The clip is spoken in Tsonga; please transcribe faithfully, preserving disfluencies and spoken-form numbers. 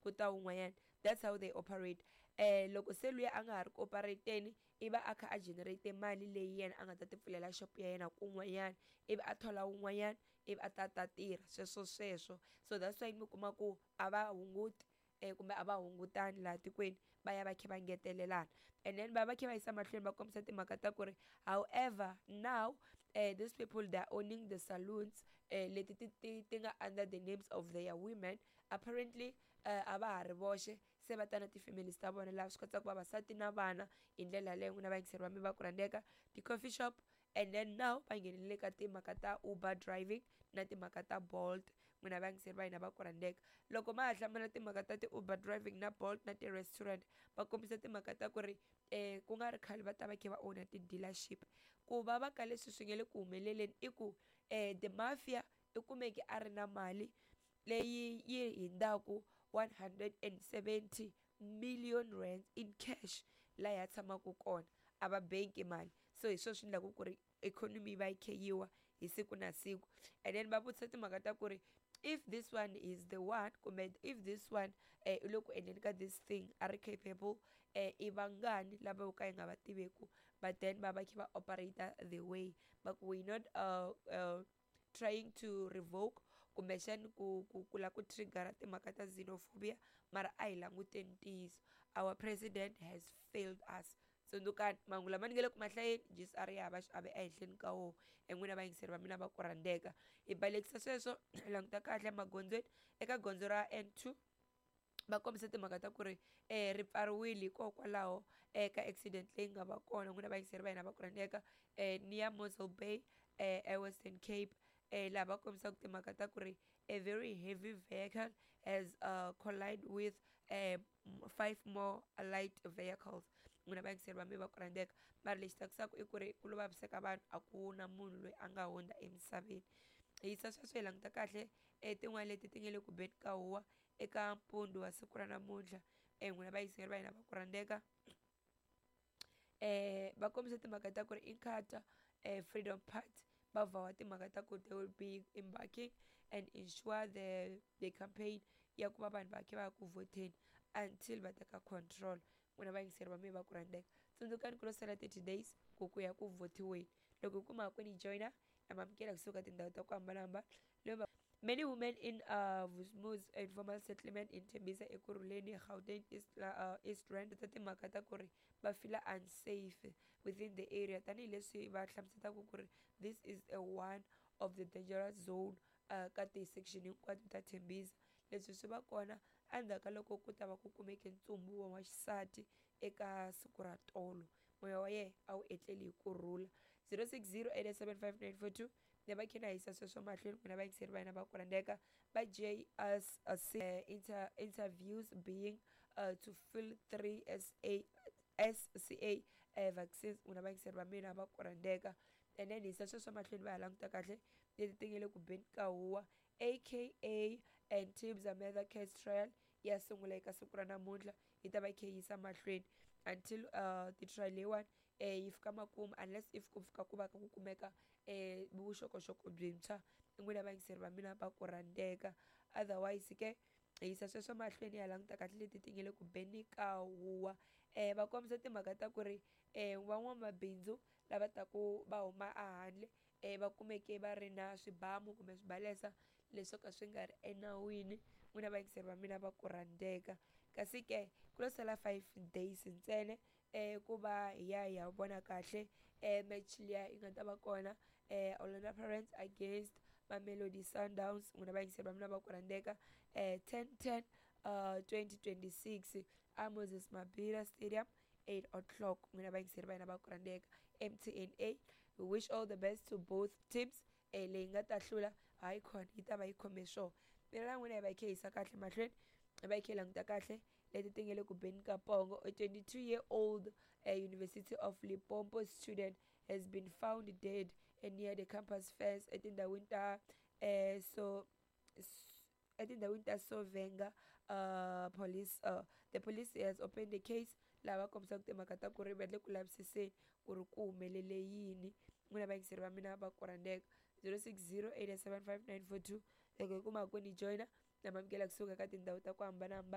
ku ta wun'wanyana. That's how they operate. um Loko se luya a nga ha ri ku operate-ni, i va a kha a generate mali leyi yena a nga ta ti pfulela shop ya yena kun'wanyana, ivi a thola wun'wanyana, ivi a ta ta tirha sweswo sweswo. So that's why mi kuma ku a va hunguti um kumbe a va hungutani laha tikweni, va ya va kha va ngetelelana. And then va va kha va yisa mahlweni va kombisa timhaka ta ku ri however now uh, these people, they are owning the saloons uh, leti ti ti ti nga under the names of their women. Apparently uh, a va ha ri voxe, se va ta na ti-families ta vona, laha swi katsaka vavasati na vana. Hi ndlela yaleyo, n'wina vayingiseri va mi va ku rhandzeka, ti-coffee shop, and then now va nghenelele ka timhaka ta Uber driving na timhaka ta Bolt. N'wina vayingiseri va hina va ku rhandzeka, loko ma ha hlamula timhaka ta ti-Uber driving na Bolt na ti-restaurant, va kombisa timhaka ta ku ri um ku nga ri khale va ta va kha va owner ti-dealership. Ku va va ka leswi swi nge le ku humeleleni i ku um the mafia i kumeke a ri na mali leyi yi hindzaku one hundred and seventy million rands in cash laha ya tshamaka kona, a va bank mali. So hi swona swi endlaka ku ri economy yi va yi kha yi wa hi siku na siku. And then va vutisa timhaka ta ku ri if this one is the one, kumbe if this one eh i le ku endleni ka this thing, a ri capable, eh i vangani lava vo ka hi nga va tiveku, but then va va kha va operate the way va ku we not uh, uh, trying to revoke kumbexani ku ku ku la ku triggera timhaka ta xenophobia, mara a hi languteni ntiyiso, our president has failed us. Tsundzukani mahungu lama ni nge le ku mahlayeni, G S R ya hava xiave ehenhleni ka wona. N'wina vayingiseri va mina va ku rhandzeka, hi balekisa sweswo, hi languta kahle emagondzweni. Eka gondzo ra N two va kombisa timhaka ta ku ri um ri pfariwile hikokwalaho eka accident leyi nga va kona. N'wina vayingiseri va hina va ku rhandzeka, um near Mossel Bay um eWestern Cape, um laha va kombisaka timhaka ta ku ri a very heavy vehicle has uh, collide with um five more light vehicles. N'wina vayingiseri va mina va ku rhandzeka, mara lexi tsakisaka i ku ri ku lo vaviseka vanhu, a ku na munhu loyi a nga hundza emisaveni. Hi yisa sweswo, hi languta kahle um tin'wani leti ti nge le ku beni ka huwa eka mpundzu wa siku ra namuntlha. um N'wina vayingiseri va hina va ku rhandzeka, um va kombisa timhaka ta ku ri Inkatha um Freedom Party va vhawa timhaka ta ku they will be embarking and ensure the the campaign ya ku va vanhu va kha va ya ku vhoteni until va teka control. N'wina vayingiseri va mina va ku rhandzeka, tsundzukani ku lo sala thirty days ku ku ya ku vhotiweni. Loko hi kuma ku ni joyina na mamukela kusuka tindhawu ta ku hambanahambana. Many women in uh, Vusmuz informal settlement in Tembisa, Ekurhuleni, Gauteng, East, uh, East Rand ta timhaka ta ku ri va feel unsafe within the area, tanihileswi va hlamuselaka ku ri this is a one of the dangerous zone uh, ka ti-section hinkwato ta Tembisa. Leswi swi va kona endzhaku ka loko ku ta va ku kumeke ntsumbu wa xisati eka siku ra tolo. Moya wa yena a wu etleli hi kurhula. zero six zero eight seven five nine four two ne va kha na yisa sweswo mahlweni. N'wina vayingiseri va hina va ku rhandzeka, va J S C inter interviews being uh, to fill three S A S C A uh, vaccines. N'wina vayingiseri va mina va ku rhandzeka, and then hisa sweswo mahlweni, va ha languta kahle leti ti nge le ku beni ka huwa. A K A and Tibs Murder case trial ya sungula eka siku ra namuntlha, yi ta va yi kha yi yisa mahlweni until uh, ti-trial leyiwani eh, yi fika makumu, unless if ku fika ku va ku kumeka eh, vuxokoxoko byintshwa. N'wina vayingiseri va mina va ku rhandzeka, otherwise ke hi yisa sweswo mahlweni, ya languta kahle leti ti nge le ku beni ka huwa. um va kombisa timhaka ta ku ri um van'wamabindzu lava taku va huma ehandle um va kumeke va ri na swibamu kumbe swibalesa leswo ka swi nga ri enawini. N'wina vayingiseri va mina va ku rhandzeka, kasi ke ku lo sala five days ntsena um ku va hi ya hi ya vona kahle um match liya yi nga ta va kona, um Orlando Pirates against Mamelodi Sundowns. N'wina vayingiseri va mina va ku rhandzeka, um ten ten uh twenty twenty-six a Moses Mabhida Stadium, eight o'clock. N'wina vayingiseri va hina va ku rhandzeka, M T N A, we wish all the best to both teams. eh leyi nga ta hlula, hayi khona yi ta va yi khome swona. Mina na n'wina hi va hi kha hi yisa kahle mahlweni, hi va hi kha hi languta kahle leti ti nge le ku beni ka pongo. A twenty-two year old uh, University of Limpopo student has been found dead near the campus fence etindhawini ta eh so etindhawini ta Sovenga. uh, police uh, the police has opened the case, laha va kombisaka timhaka ta ku ri va le ku lavisiseni ku ri ku humelele yini. N'wina vayingiseri va mina va ku rhandzeka, zero six zero eight seven five nine four two, loko hi kuma ku ni joyina na mamukela kusuka ka tindhawu ta ku hambanahambana.